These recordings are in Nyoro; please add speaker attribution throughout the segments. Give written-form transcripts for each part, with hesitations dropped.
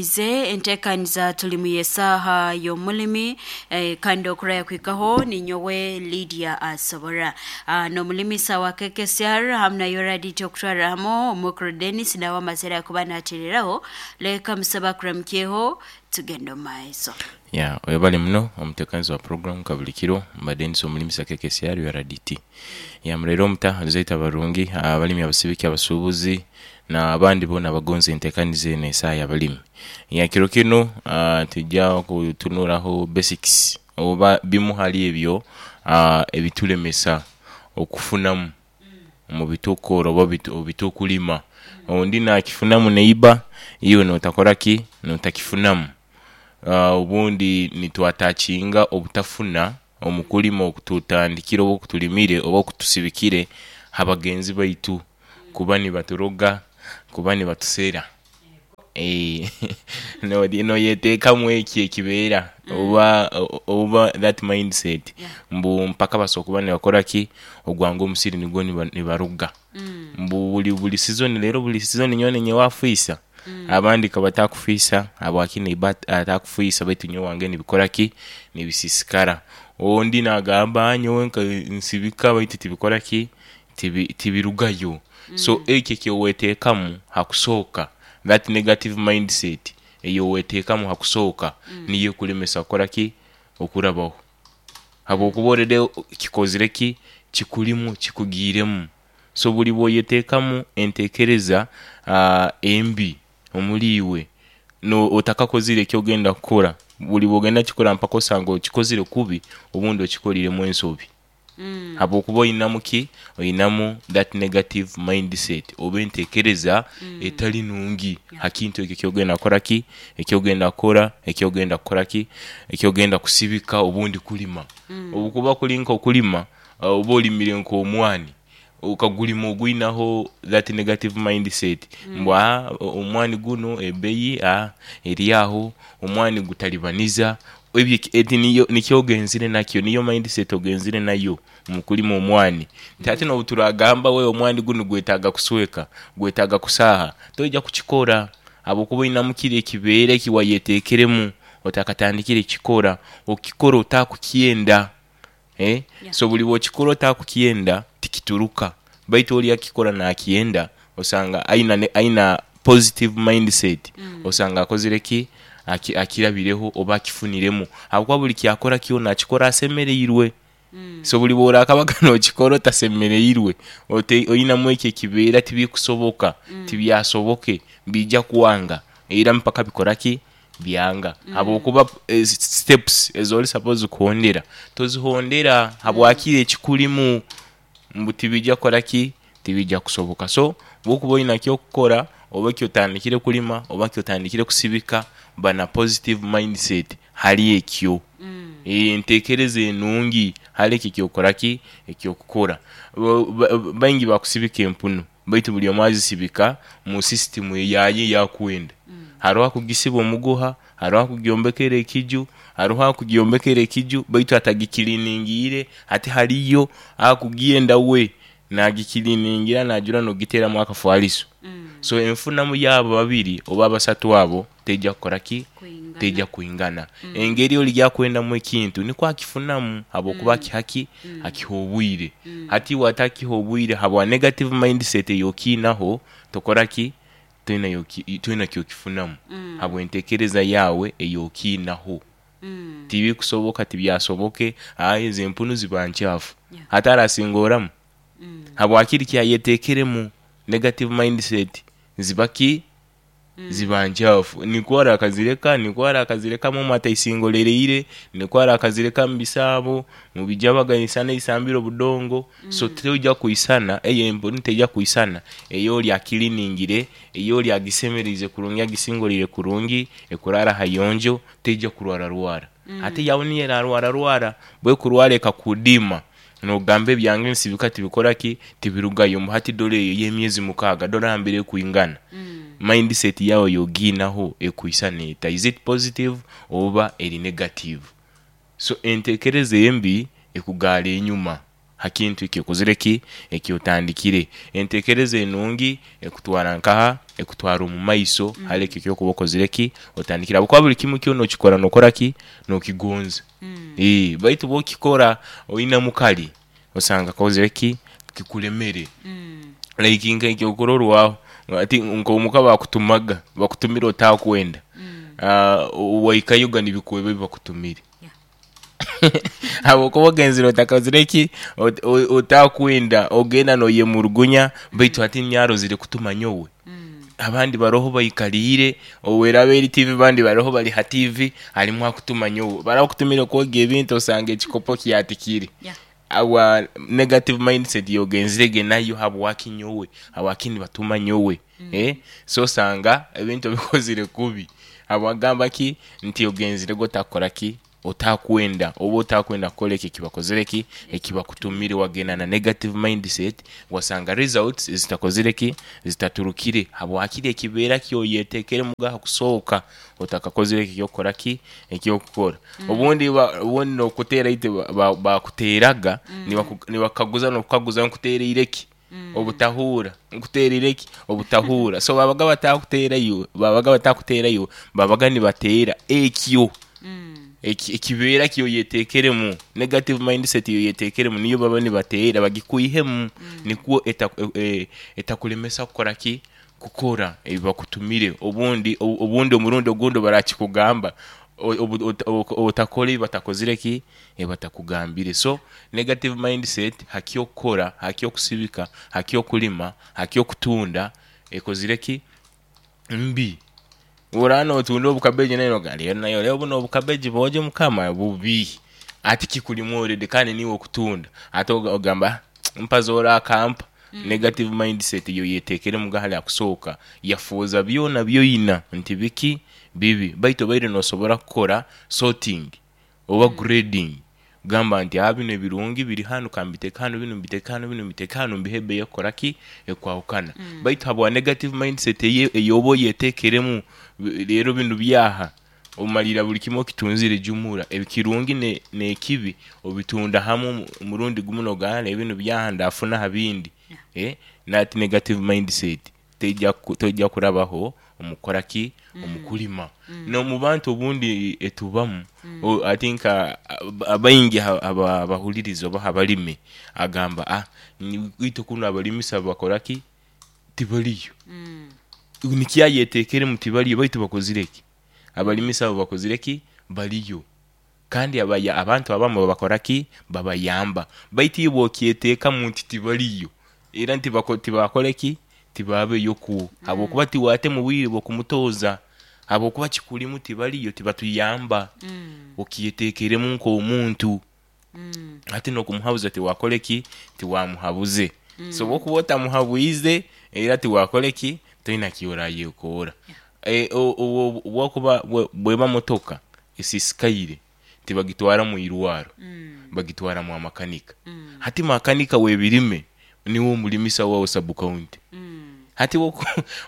Speaker 1: Ize entekaniza tulimu y'esaaha y'omulimi kandi okuraya kwikaho ninyowe Lydia Asobora n'omulimisa wa KKCR hamu na Yoradit okutwarra hamu omukuru Dennis nawe amazire akuba natereraho leka musaba kuramukyeho tugende omu maiso.
Speaker 2: Ya, webale muno omutekaniza wa program nka buli kiro mba Denis omulimisa KKCR URDT. Ya, muraire omuta zaitu abarungi, abalimi, abasibiki, abasubuzi na abandi boona abagonza entekaniza enu esaaha y'abalimi. Ya, kiro kinu twija kutunuraho basics oba bimu hali ebyo ebitulemesa okufunamu omu bitukukora oba bitukulima. Ondi nakifunamu neiba iwe notakora ki? Notakifunamu. Obundi nitwatakinga obutafuna omu kulima okututandikire oba okutulimire oba okutusibikire ha bagenzi baitu kuba nibaturoga, kuba nibatusera. Noyetekamu ekyo ekibeera oba oba that mindset mbu mpaka basobola kuba nibakora ki? Ogwange omusiri nigwo nibaroga. Mbu buli sizoni leero buli sizoni nyowe ninye owafwisa. Abandi kabatakufwisa habwaki neiba atakufwisa baitu nyowe owange nibikora ki? Nibisisikara. Ondi nagamba nyowe nsibika baitu tibikora ki? Tibirugayo. So ekyo ekyowetekamu hakusooka that negative mindset eyowetekamu hakusooka niyo ekulemesa kukora ki? Okurabaho. Habwokuba already kikozire ki? Kikurimu, kikugiiremu. So buli bwoyetekamu entekereza embi omuri iwe, otakakozire ekyogenda kukora, buli bwogenda kukikora mpaka osange okikozire kubi obundi okikoriremu ensobi. Habwokuba oinamu ki? Oinamu that negative mindset oba entekereza etali nungi ha kintu ekyo ekyogenda kukora ki? Ekyogenda kukora, ekyogenda kukora ki? Ekyogenda kusibika obundi kulima. Obukuba kuli nkokulima, oba olimire nk'omwani, okagulima ogwinaho that negative mindset mbu aa omwani guno ebeeyi aa eri agho, omwani gutalibaniza, ebyo eti nikyo ogenzire nakyo, niyo mindset ogenzire nayo mu kulima omwani. Nti ate n'obuturagamba we omwani gunu gwetaaga kusweka, gwetaaga kusaaha, toija kukikora habwokuba oinamu kire ekibeera eki wayetekeremu otakatandikire kukikora, okikora otakukyenda. So buli bwokikora otakukyenda tikituruka baitu oli akikora nakyenda osanga aina positive mindset osanga akozire ki? Akirabireho oba akifuniremu ahabwokuba buli kyakora kyona akikora asemereirwe. So buli bworakabaga nokikora otasemereirwe oinamu ekyo ekibeera tibikusoboka, tibyasoboke, biija kwanga era mpaka bikora ki? Byanga habwokuba steps ezori suppose kuhondera tozihondera habwaki ekikurimu mbu tibija kukora ki? Tibija kusoboka. So bwokuba olina ekyokukora oba kyotandikire kulima oba kyotandikire kusibika ba na positive mindset hali ekyo. Entekereza enungi hali ekyo ekyokukora ki? Ekyokukora. Baingi bakusibika empunu baitu buli omu azisibika mu system eyaye eyakwenda. Haroho akugisiba omuguha, haroho akugyombekera ekiju, haroho akugyombekera ekiju baitu atagikiliningiire. Ate haliyo akugyenda we nagikiliningira najura nogiteramu akafaliso. So enfunamu yaabo babiri oba abasatu abo teija kukora ki? Teija kwingana. Engeri oli gyakwendamu ekintu nikwo akifunamu habwokuba akiha ki? Akiha obwire. Hati iwe atakiha obwire habwa negative mindset eyokiinaho tokora ki? Toina kyokifunamu habw'entekereza yaawe eyokiinaho. Tibikusoboka tibyasoboke, aah ezo empunu ziba nkyafu. Hati arasingoramu? Habwaki kyayetekeremu negative mindset ziba ki? Ziba nkyafu. Nikwo arakazireka, nikwo arakazirekamu omu ataisingolereire, nikwo arakazireka mu bisaabo, mu bijabaga eisana eisambire obudongo. So toija kwisana, eyo empunu teija kwisana ey'oli akiliningire, ey'oli agisemereize kurungi agisingoleire kurungi, ekurara hayonjo, teija kurwararwara. Ate eyawe niyo erarwararwara, bwekurwara ekakudiima, nogamba ebyange nsibika tibikora ki? Tibirugayo. Mbu hati dora eyo ey'emyezi mukaaga, dora nambere ekwingana. Mindset yawe y'ogiinaho ekwisana eta? Is it positive oba eri negative? So entekereza embi ekugaara enyuma. Ha kintu eki okozire ki, eki otandikire. Entekereza enungi ekutwara nkaha? Ekutwara omu maiso hali ekyo ekyokuba okozire ki, otandikire, habwokuba buli kimu kyona okikora nokora ki, nokigonza. Baitu bwokikora oinamu kali, osanga kozire ki, kikulemere. Like nk'ekyokurorwaho ati nk'omuka bakutumaga, bakutumire otakwenda, waikayoga nibikweba ebi bakutumire. Habwokuba ogenzere otakozire ki, otakwenda, ogenda noyemurugunya baitu hati nyarozire kutuma nyowe. Abandi baroho baikaliire, obu eraaba eri tiivi abandi baroho bali ha tiivi, alimu akutuma nyowe. Barakutumire kwogya ebintu osanga ekikopo kyatikire. Habwa negative mindset ey'ogenzirege nayo habwaki nyowe, habwaki nibatuma nyowe. So osanga ebintu obikozire kubi. Habwagamba ki nti ogenzirege otakukora ki, otakwenda oba otakwenda kukora ekyo ekibakozire ki, ekibakutumire wagenda na negative mindset wasanga results zitakozire ki, zitaturukire habwakiri ekibeera kyoyetekeremu ha kusooka otakakozire ekyo ekyokukora ki, ekyokukora. Obundi obundi nokuteera itwe bakuteeraga nibakaguza nokukaguza nkutereire ki obutahuura, nkutereire ki obutahuura. So babaga batakuteera iwe, babaga batakuteera iwe, babaga nibateera ekyo ekibeera kyoyetekeremu, negative mindset eyoyetekeremu niyo baba nibateera bagikwihemu nikwo etakulemesa kukora ki, kukora ebi bakutumire. Obundi obundi omurundi ogundi barakikugamba otakora ebi batakozire ki, ebi batakugambire. So negative mindset ha kyokukora, ha kyokusibika, ha kyokulima, ha kyokutunda ekozire ki, mbi. Oraba notunda obukabeji nayo nogamba naye reero bunu obukabeji bwojo mukama bubi, hati kikulimu already kandi niiwe okutunda, ate ogamba mpaze orakampa. Negative mindset eyoyetekeremu hali ha kusooka yafuuza byona byoina nti biki, bibi. Baitu obaire nosobora kukora sorting oba grading kugamba nti binu ebirungi biri hanu kambiteeke hanu, binu mbiteeke hanu, binu mbiteeke hanu mbihe ebeeyi ekukora ki, ekwahukana. Baitu habwa negative mindset eyoba oyetekeremu, reero binu byaha, omalira buli kimu okitunzire jumura, ekirungi n'ekibi obitunda hamu omurundi gumu nogamba binu byaha ndafuna ha bindi. That negative mindset teija kurabaho omu kukora ki, omu kulima. N'omu bantu obundi etubamu, I think abaingi abahuririza oba abalimi agamba itwe kunu abalimisa bakora ki, tibariyo. Nikyo ayetekeremu tibariyo baitu bakozire ki, abalimisa abo bakozire ki, bariyo. Kandi abantu abamu babakora ki, babayamba. Baitu iwe bwokyeteekamu nti tibariyo, era tibakore ki, tibabeyo kwo, habwokuba tiwatema obwire bw'okumutoza, habwokuba kikulimu tibariyo tibatuyamba. Okyetekeremu nk'omuntu. Hati n'okumuhabuza tiwakore ki, tiwamuhabuze. So bwokuba otamuhabwize era tiwakore ki, toine kyorayekoora. Obwokuba bweba motoka esisikaire tibagitwara mu irwaro, bagitwara mwa makanika. Hati makanika w'ebirime niwe omulimisa wawe sub county. Hati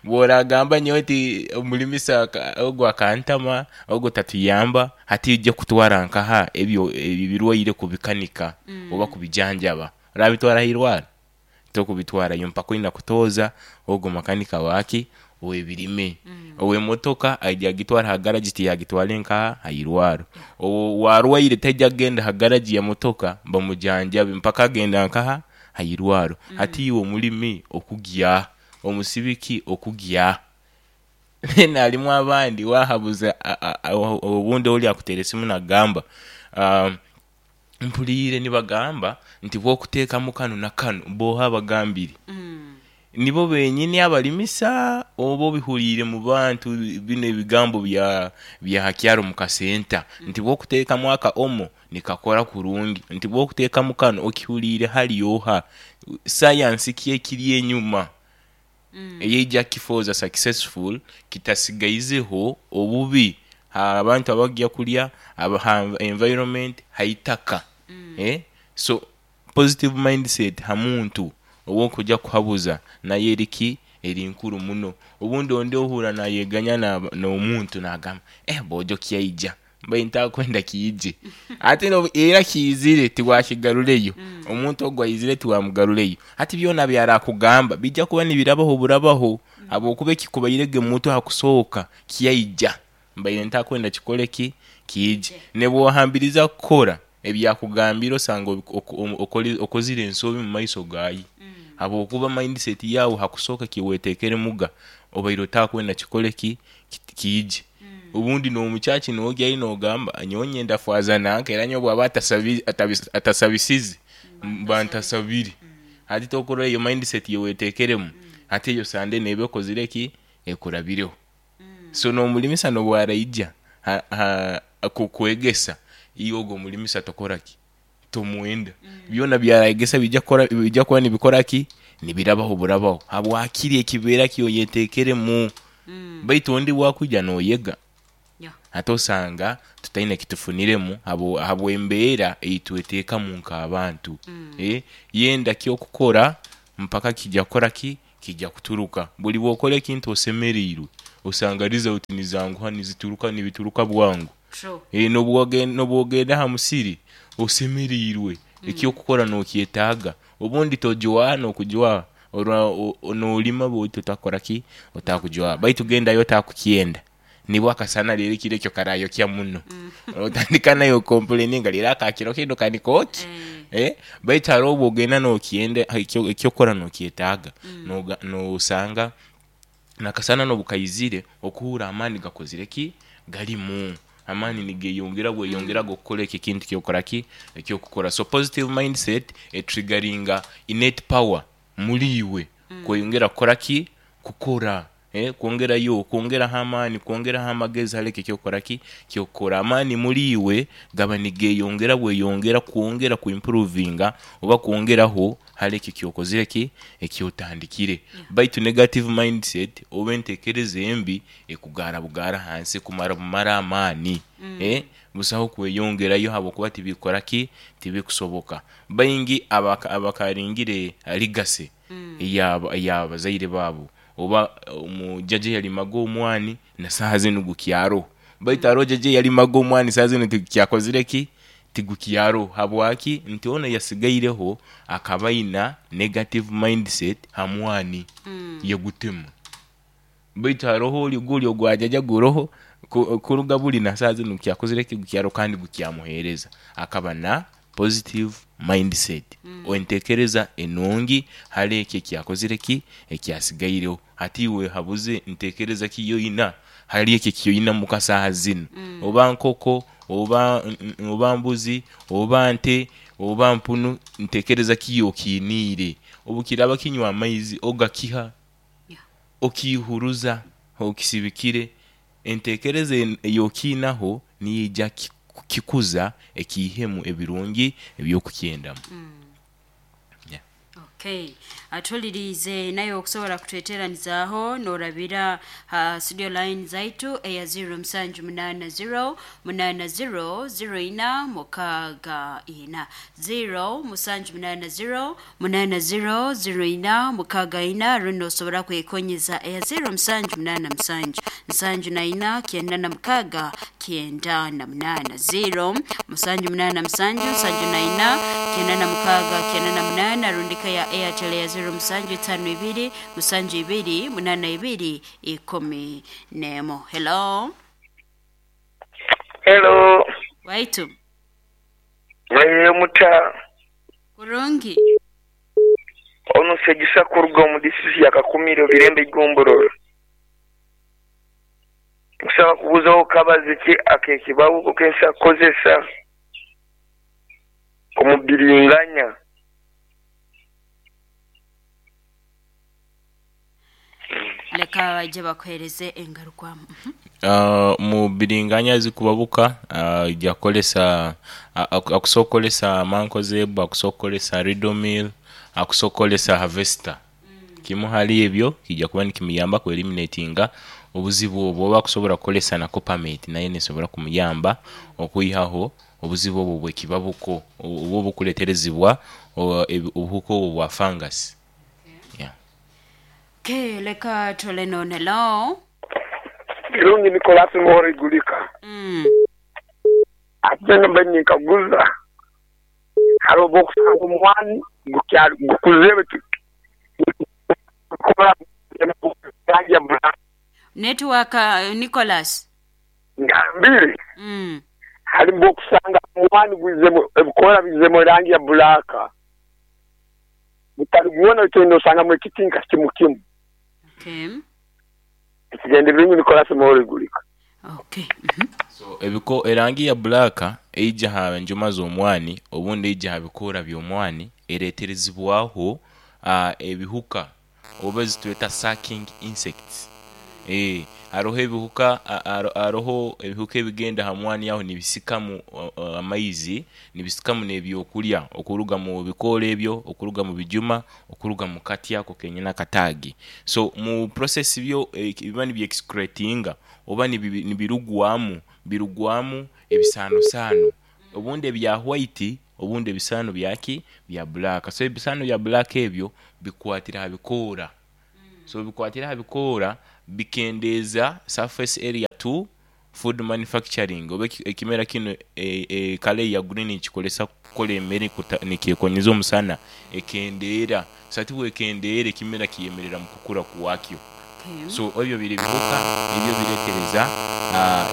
Speaker 2: bworagamba nyowe nti omulimisa ogu akantama, ogu tatuyamba, hati oija kutwara nkaha ebyo ebirwaire kubikanika oba kubijanjaba? Orabitwara ha irwaro? Tokubitwarayo mpaka oina kutoza ogu makanika waki, ow'ebirime. Ow'emotoka aija agitwara ha garagi tiyagitwara nkaha, ha irwaro. Owarwaire taija kugenda ha garagi ya motoka bamujanjabe mpaka agenda nkaha, ha irwaro. Hati iwe omulimi okugya, omusibiki okugya. Then harimu abandi wahabuza obundi ori akuteera esimu nagamba mpuriire nibagamba nti bwokutekamu kanu na kanu, boha abagambire? Nibo benyini abalimisa oba obihuriire mu bantu binu ebigambo bya ha kyaro mu kasenta nti bwokutekamu aka omo nikakora kurungi, nti bwokutekamu kanu okihuriire hali oha? Sayansi ki ekiri enyuma eyeija kukifooza successful kitasigaizeho obubi ha bantu abagya kulya, ha environment, ha itaka. So positive mindset ha muntu ow'okuja kuhabuza nayo eri ki, eri nkuru muno. Obundi ondi ohurra nayeganya n'omuntu nagamba boojo kyaija. Mbaire ntakwenda kiije ate era kiizire tiwakigarureyo. Omuntu ogwo aizire tiwamugarureyo. Hati byona byarakugamba bijja kuba nibirabaho burabaho, habwokuba ekikubairege mu mutwe hakusooka kyaija. Mbaire ntakwenda kikole ki? Kiije. Nebwohambiriza kukora ebyakugambire osanga okozire ensobi mu maiso gaye, habwokuba mindset yawe hakusooka kiweteekeremuga obaire otakwenda kikole ki? Kiije. Obundi n'omukyaki nogyayo nogamba nyowe nyenda faaza nanka, era nyowe bwaba atasabisize mba ntasabire. Hati tokurora eyo mindset eyiweteekeremu, hati eyo sande neeba ekozire ki? Ekurabireho. So n'omulimisa n'obwaraija kukwegesa, iwe ogu omulimisa tokora ki? Tomwenda. Byona byarayegesa bijja kuba nibikora ki? Nibirabaho burabaho habwakiri ekibeera kyoyeteekeremu. Baitu ondi bwakwija noyega, ate osanga tutaine kitufuniremu habw'embeera eyitweteekamu nk'abantu. Yenda kyokukora mpaka kijja kukora ki? Kijja kuturuka. Buli bwokora ekintu osemereirwe, osanga result nizanguha nizituruka nibituruka bwangu. N'obwogenda aha musiri osemereirwe, ekyokukora nokyetaaga. Obundi tojwaha n'okujwaha, nolima baitu otakukora ki? Otakujwaha. Baitu gendayo otakukyenda, nibwo akasana leero ekiro ekyo karayokya muno. Otandika nawe okompuleininga leero akakiro kinu kanikookya. Baitu haroho obwogenda nokyenda, ekyokukora nokyetaaga, nosanga nakasana n'obukaizire okuhurra amaani gakozire ki? Garimu. Amaani nigeyongera bweyongera ag'okukora ekyo ekintu kyokora ki? Ekyokukora. So positive mindset etrigaringa innate power muri iwe kweyongera kukora ki? Kukora. Kwongerayo, kwongeraho amaani, kwongeraho amagezi hali ekyo ekyokukora ki? Kyokukora. Amaani muri iwe gaba nigeyongera bweyongera kwongera kuimprovinga oba kwongeraho hali ekyo ekyokozire ki? Ekyotandikire. Baitu negative mindset oba entekereza embi ekugaara bugaara hansi, ekumara bumara amaani. Busaho kweyongerayo habwokuba tibikukora ki? Tibikusoboka. Baingi abakaringire legacy ey'abazaire baabo, oba omujaja eyalimaga omwani na saaha zinu gukyaroho. Baitu haroho jaja eyalimaga omwani saaha zinu tigukyakozire ki? Tigukyaroho. Habwaki? Nti onu eyasigaireho akaba aina negative mindset ha mwani, yagutema. Baitu haroho ori guri ogwa jaja guroho kuruga buri na saaha zinu gukyakozire ki? Gukyaroho kandi gukyamuheereza. Akaba na positive mindset, entekereza enungi hali ekyo ekyakozire ki? Ekyasigaireho. Hati iwe wehabuze ntekereza ki yoina hali ekyo ekyoina muka saaha zinu, oba nkoko, oba mbuzi, oba nte, oba mpunu, ntekereza ki yokiiniire? Obukiraaba kinywa amaizi ogakiha, okiihuruza okisibikire, entekereza eyokiinaho niyo eija kukikuza ekiihemu ebirungi eby'okukyendamu.
Speaker 1: Okay. Atuliriize naye okusobola kutweteranizaaho norabira ha studio line zaitu eya 0780 80 0464, 0780 80 0464, rundi nosobora kwekonyeza eya 0787 74 96 98, 0787 74 96 98, rundika ya Airtel ya 0752 72 82 11. Hello.
Speaker 3: Hello.
Speaker 1: Waitu.
Speaker 3: Mwaire muta?
Speaker 1: Kurungi.
Speaker 3: Ono Segisa kuruga omu disitulikiti ya Kakumiro, Birembe Igomborora. Nkusaba kubuzaho kabazi ki ak'ekibabuko kensobola kukozesa omu biringanya?
Speaker 1: Leka baije bakuhereze engarukwamu.
Speaker 2: Mu biringanya ezikubabuka oija kukozesa, akusobola okukozesa mankozebu, akusobola okukozesa ridomil, akusobola okukozesa harvester. Kimu hali ebyo kija kuba nikimuyambaku eliminatinga obuzibu obwo, oba akusobola kukozesa na copamate nayo nesobola kumuyamba okwihaho obuzibu obwo obw'ekibabuko oba obukuleterezibwa obuhuka obwo obwa fungus.
Speaker 1: Okay, leka tole nono. Hello.
Speaker 4: Birungi Nicholas Muhoro Igulika.
Speaker 3: Ate mbe ninkaguza hariho obwokusanga omwani gukyali gukuzire baitu rangi ya black.
Speaker 1: Network Nicholas.
Speaker 3: Ngambire hariho obwokusanga omwani gwizemu ebikoora bizemu erangi ya black gutali gwona baitu nosangamu ekiti nka kimu kimu.
Speaker 1: Okay.
Speaker 3: Ekigendererwa Nicholas Moro Igulika.
Speaker 1: Okay.
Speaker 2: So ebiko erangi ya black eija ha njuma z'omwani obundi eija ha bikoora by'omwani ereeterezibwaho ebihuka oba ezitweta sucking insects. Haroho ebihuka haroho ebihuka ebigenda ha mwani aho nibisikamu amaizi, nibisikamu n'ebyokulya okuruga mu bikoora ebyo, okuruga mu bijuma, okuruga mu kati ako kenyini akataagi. So mu process byo biba nibyexcretinga oba nibirugwamu, birugwamu ebisaanosaano obundi ebya white obundi ebisaano byaki bya black. So ebisaano bya black ebyo bikwatira ha bikoora. So bikwatira aha bikoora bikendeeza surface area to food manufacturing oba ekimera kinu ekala eya green nikikolesa kukola emere nikyekonyeza omusana ekendeera. So hati bwekendeera ekimera kiyemerera mu kukura kwakyo. So ebyo biri bihuka nibyo bireetereza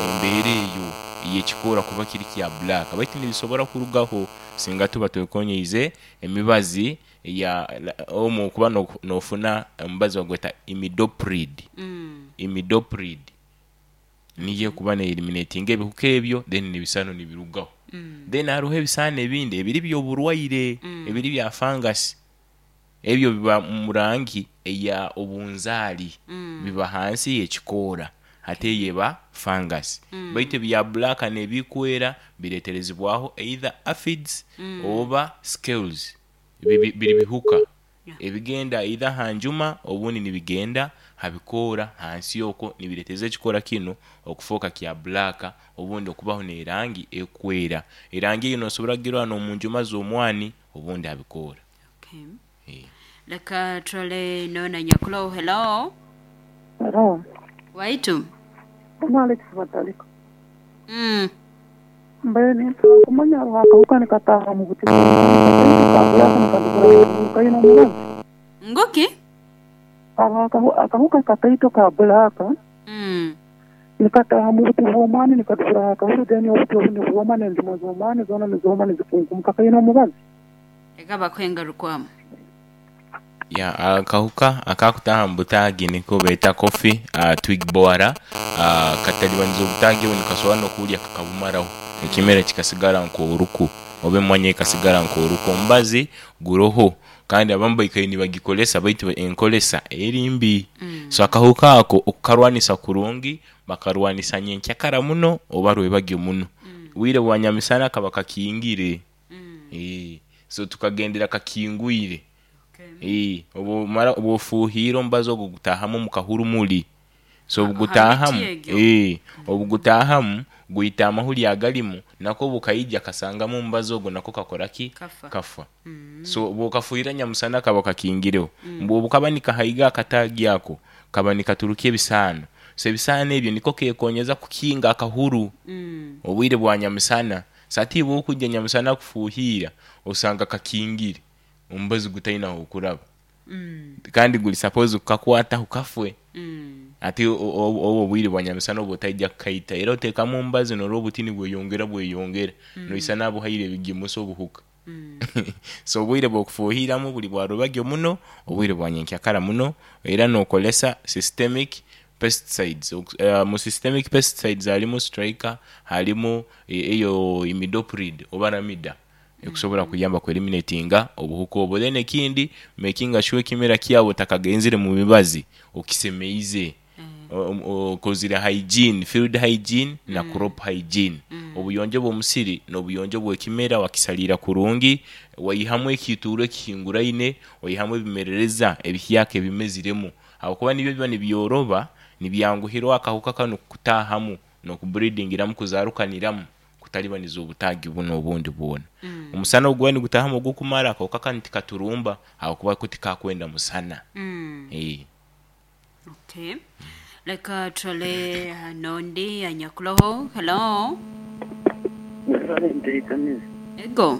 Speaker 2: embeera eyo ey'ekikoora kuba kiri kya black baitu nibisobora kurugaho singa tuba twekonyeize emibazi eya omwo okuba nofuna omubazi bagweta imidoprid, imidoprid niyo ekuba neeliminatinga ebihuka ebyo then n'ebisaano nibirugaho. Then haroho ebisaano ebindi ebiri by'oburwaire ebiri bya fungus, ebyo biba mu rangi eya obunzaali biba hansi y'ekikoora hati eyo eba fungus. Baitu ebya black n'ebikwera bireeterezibwaho either aphids oba scales, biri bihuka ebigenda either ha njuma obundi nibigenda ha bikoora hansi okwo nibireetereza ekikoora kinu okufooka kya black obundi okubaho n'erangi ekwera. Erangi eyo nosobora kugirora n'omu njuma z'omwani obundi ha bikoora.
Speaker 1: Okay. Leka turole noona nyakuloho. Hello.
Speaker 4: Hello.
Speaker 1: Waitu.
Speaker 4: Onu Alex Batalika. Mbaire ninsaba kumanya hariho akahuka nikataaha omu buti bw'omwani kataito ka black nikadubura haiguru kaine omubazi?
Speaker 1: Nguki?
Speaker 4: Hariho akahuka kataito ka black nikataaha mu buti bw'omwani nikadubura hakahuru then obuti obu nibwoma n'enjuma z'omwani zoona nizooma nizikunkumuka kaine omubazi?
Speaker 1: Leka bakuhe engarukwamu.
Speaker 2: Ya, akahuka akakutaaha mu butaagi niko beeta coffee twig borer. Katalibaniza obutaagi obu nikasobora n'okuburya kakabumaraho ekimera kikasigara nk'oruku oba emwanya ekasigara nk'oruku. Omubazi guroho kandi abamu baikaire nibagikolesa baitu enkolesa eri mbi. So akahuka ako okukarwanisa kurungi bakarwanisa nyenkyakara muno oba rwebagyo muno. Bwire bwa nyamisana kaba kakingire. So tukagendera kakingwire. Obwomara obwofuhiire omubazi ogwo gutaahamu omu kahurumuri. So
Speaker 1: Ha miti
Speaker 2: obugutaahamu,
Speaker 1: egyo.
Speaker 2: obugutaahamu gwita amahuri agalimu nako obukaija kasangamu omubazi ogwo nako kakora ki?
Speaker 1: Kafa.
Speaker 2: Kafa. So bwokafuhirira nyamusana kaba kakingireho. Mbu obukaba nikahaiga akataagi ako, kaba nikaturukya ebisaano. So ebisaano ebyo niko kekonyeza kukinga akahuru obwire bwa nyamusana. So ati iwe okwija nyamusana kufuhiira osanga kakingire omubazi gutaine ah'okuraba kandi guri suppose kukakwataho kafwe. Ati obwo obwire bwa nyamisana oba otaija kukaita era oteekamu omubazi norora obutini bweyongera bweyongera noisana abuhaire ebigimusa obuhuka. So obwire bw'okufuhiiramu buri bwa rubagyo muno, obwire bwa nyenkyakara muno era nokolesa systemic pesticides. Mu systemic pesticides harimu striker, harimu eyo imidoprid oba ramida ekusobora kuyamba ku eliminatinga obuhuka obwo. Then ekindi makinga sure ekimera kyawe otakagenzire mu mibazi okisemeize, okozire hygiene, field hygiene na crop hygiene. Obuyonjo bw'omusiri n'obuyonjo bw'ekimera wakisaliira kurungi, waihamu ekiituuru ekihinguraine, waihamu ebimerereza ebihyaka ebimeziremu habwokuba nibyo biba nibyoroba, nibyanguhirwa akahuka kanu kutaahamu n'okubreedingiramu kuzarukaniramu kutalibaniza obutaagi bunu obundi bwona. Omusana oguba nigutaahamu ogukumara akahuka kanu tikaturumba habwokuba ko tikakwenda musana.
Speaker 1: Okay. Leka turole n'ondi anyakuloho. Hello.
Speaker 5: Nteekaniza.
Speaker 1: Ego.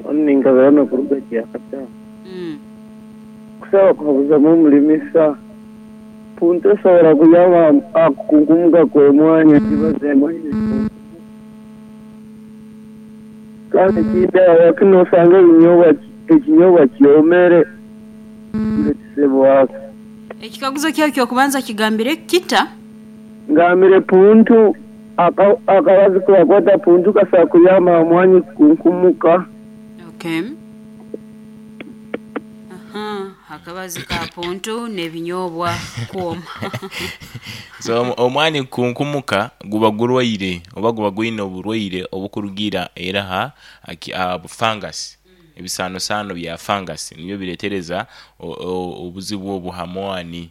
Speaker 5: Onu ninkabirano kuruga Kyakata. Kusaba kuhabuzamu omulimisa. Puntu esobora kuyamba akukunkumuka kw'emwanya kibaza emwanya. Kandi ekindi aho kinu osanga ekinyobwa kyomere ngekisebwako.
Speaker 1: Ekikaguzo kyawe kyokubanza kigambire kita?
Speaker 5: Ngambire puntu akabazi kubakwata puntu kasobola kuyamba omwanya kukunkumuka.
Speaker 1: Okay. Aha, akabazi ka puntu n'ebinyobwa kwoma.
Speaker 2: So omwani kunkumuka guba gurwaire oba guba gwine oburwaire obukurugira era ha fungus. Ebisanosano bya fungus nibyo biretereza obuzibu obu ha mwani.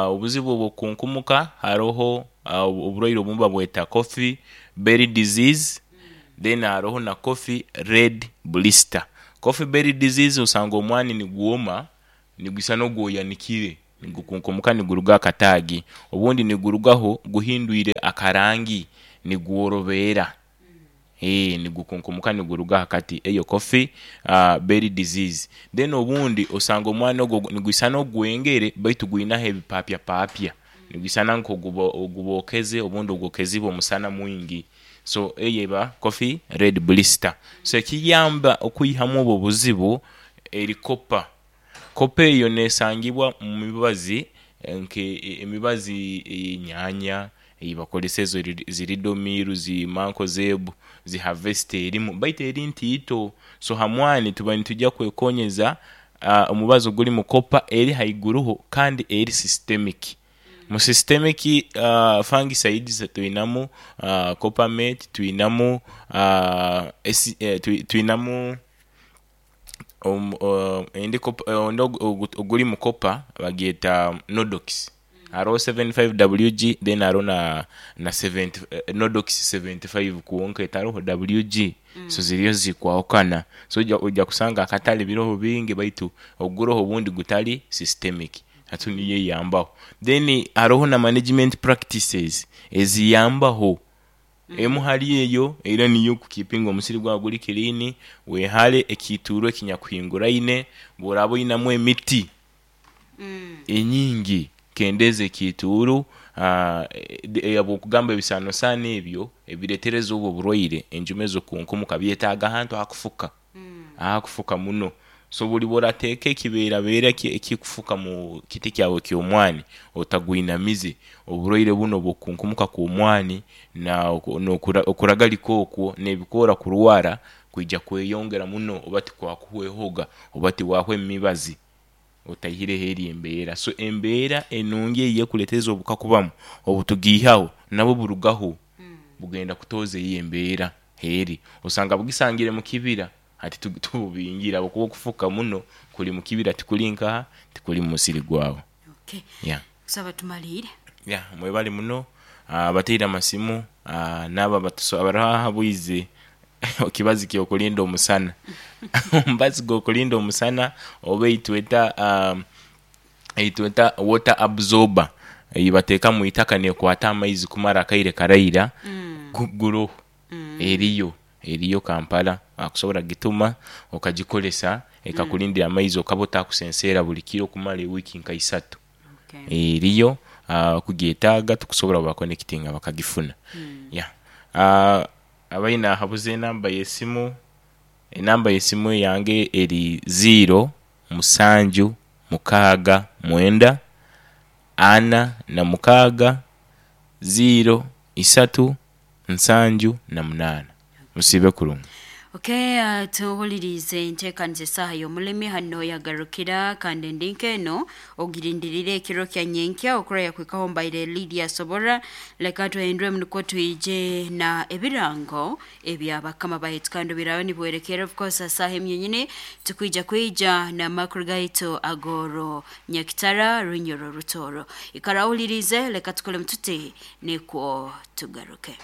Speaker 2: Obuzibu obwokunkumuka haroho oburwaire obumu babweta coffee berry disease, then haroho na coffee red blister. Coffee berry disease osanga omwani nigwoma nigwisana ogwoyanikire, nigukunkumuka niguruga akataagi, obundi nigurugaho guhindwire akarangi nigworobera, nigukunkumuka niguruga hakati, eyo coffee berry disease. Then obundi osanga omwani ogwo nigwisana ogwengere baitu gwinaho ebipapyapapya, nigwisana nk'ogubokeze obundi ogwokezibwe omusana mwingi, so eyo eba coffee red blister. So ekiyamba okwihamu obwo obuzibu eri kopa, kopa eyo nesangibwa omumibazi nke emibazi ey'enyanya eyibakozesa ezo zi ridomiru, zi mankozebu, zi havesta erimu baitu eri ntiito. So ha mwani tuba nitwija kwekonyeza omubazi ogulimu kopa eri haiguruho kandi eri systemic. Mu systemic fungicides twinamu coppermate, twinamu twinamu ondi ogulimu kopa bagyeta nodox, haroho 75 WG then haroho na nodox 75 kwonka etaroho WG, so ziriyo zikwahukana. So oija kusanga akatale biroho bingi baitu oguroho obundi gutali systemic, hati niyo eyambaho. Then haroho na management practices eziyambaho, emu hali eyo era niyo kukipinga omusiri gwawe guri clean, wehare ekiituuru ekinyakuhinguraine, bworaba oinamu emiti enyingi kendeeza ekiituuru, habwokugamba ebisanosano ebyo ebiretereza obwo oburwaire enjuma ezo kukunkumuka byetaaga ahantu ahakufuka, ahakufuka muno. So buli bworateeka ekibeerabeera ekikufuka mu kiti kyawe eky'omwani otagwinamize, oburwaire bunu obw'okukunkumuka kw'omwani n'okuragalika okwo n'ebikoora kurwara kwija kweyongera muno oba tikwakuhwehoga oba tiwahwa emibazi otaihireho eri embeera. So embeera enungi eyo ekuleetereza obuhuka kubamu obutugiihaho nabwo burugaho bugenda kutooza eyo embeera eri. Osanga bugisangire mukibira hati tububingire habwokuba okufuka muno kuli mukibira tikuli nkaha, tikuli mumusiri gwawe.
Speaker 1: Okay.
Speaker 2: Yeah.
Speaker 1: Kusaba tumaliire.
Speaker 2: Yeah, mwebale muno abateire amasimu n'abo abahabwize ekibazi ky'okulinda omusana. Omubazi gw'okulinda omusana oba eitweta water absorber eyibateeka mwitaka nekwata amaizi kumara akaire karaira guroho eriyo Kampala akusobora gituma okagikozesa ekakulindira amaizi okaba otakusenseera buli kiro okumara ewiiki nka isatu. Eriyo okugyetaaga tukusobora kubakonekitinga bakagifuna. Yeah, abaine ahabuza enamba y'esimu, enamba y'esimu eyange eri ziiro musanju mukaaga mwenda ana na mukaaga ziiro isatu nsanju na munaana. Musiibe kurungi.
Speaker 1: Okay, tuwulirize enteekaniza esaaha y'omulimi hano yagarukira kandi endinka eno ogirindirire ekiro kya nyenkya okuraya kwikaho mbaire Lydia Sobora. Leka tuhinduremu nukwo twije na ebirango ebyabakama baitu kandi birabe nibwerekera of course saaha emyenyini tukwija kwija n'amakuru gaitu agoro Nyakitara Runyoro Rutoro. Ikara owulirize, leka tukolemu tuti nikwo tugaruke.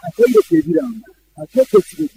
Speaker 6: Akaire k'ebirango akeeko ekiro.